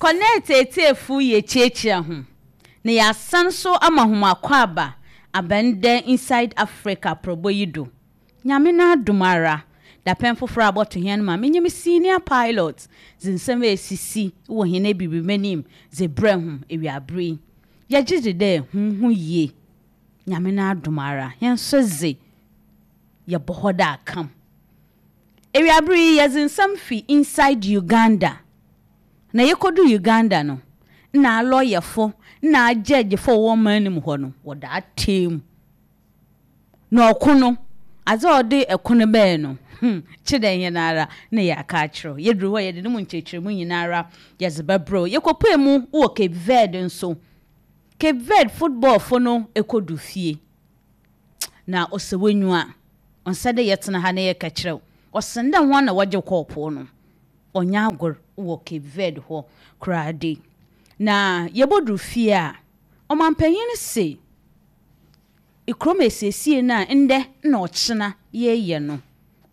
Connect etsiefo yekyiakyia hom, na yɛasan so ama hom akɔaba aba ndɛ Inside Africa aprɔbɔ yi do. Nyame n'adom ara, dapɛn fofor a abɔto hɛn ma menye me senior pilot dze nsɛm a esisi wɔ hɛn Ebibirmanyi dze brɛ hom ewiaber yi. Yɛgye dzi dɛ hom ho ye. Nyame n'adom ara, hɛn so dze, yɛbɔ hɔ dɛ akam. Ewiaber yi, yɛdze nsɛm fi Inside Uganda. Na yekodur Uganda no, nna alɔyɛfo na agyɛɛgyefo a wɔwɔ ɔman no mu hɔ no, wɔda ataa mu. Na ɔko no, adze a ɔde ɛko no bae no, hmm, kye dɛ hɛn ara na yɛaka akyerɛ wo. Yedur hɔ a, yɛdze no mu nkyerɛkyerɛmu nyinara yɛdze bɛbrɛ wo. Yekopuee mu wɔ Cape Verde nso. Cape Verde footballfo no ekodu fie, na ɔsɛ w'enyiwa. Ɔnnsɛ dɛ yɛtsena ha na yɛkɛkyerɛ wo. Ɔsen dɛ hɔn na wɔgye kɔɔpow no. Ɔnnyɛ agor wɔ Cape Verde hɔ koraa de. Na yebodur fie a, ɔmampanyin no se, Kurom esiesie no a ndɛ na ɔkyena yɛreyɛ no,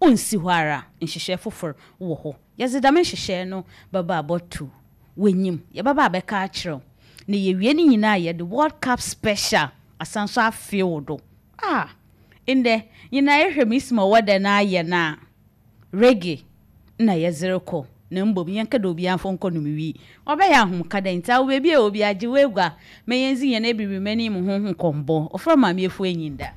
onnsi hɔ ara, nhyehyɛɛ fofor wɔ hɔ. Yɛdze dɛm nhyehyɛɛ no bɛba abɔto w'enyim, yɛbɛba abɛka akyerɛ wo, na yewie ne nyina a yɛdze World Cup special asan so afee wo do. Ah! Ndɛ nyina ehwɛ me si ma ɔwɔ dɛn ayɛ no a, Reggae na yɛdze rokɔ, na mbom yɛnnkɛ dɛ obiara mfa nkɔnom wii. Ɔbɛyɛ ahomka dɛ ntsi awo beebi a ewɔ biara gye w'egua ma yendzi hɛn ebibirman yi mu ho nkɔmbɔ. Ɔfrɛ Maame Efua Enyinda.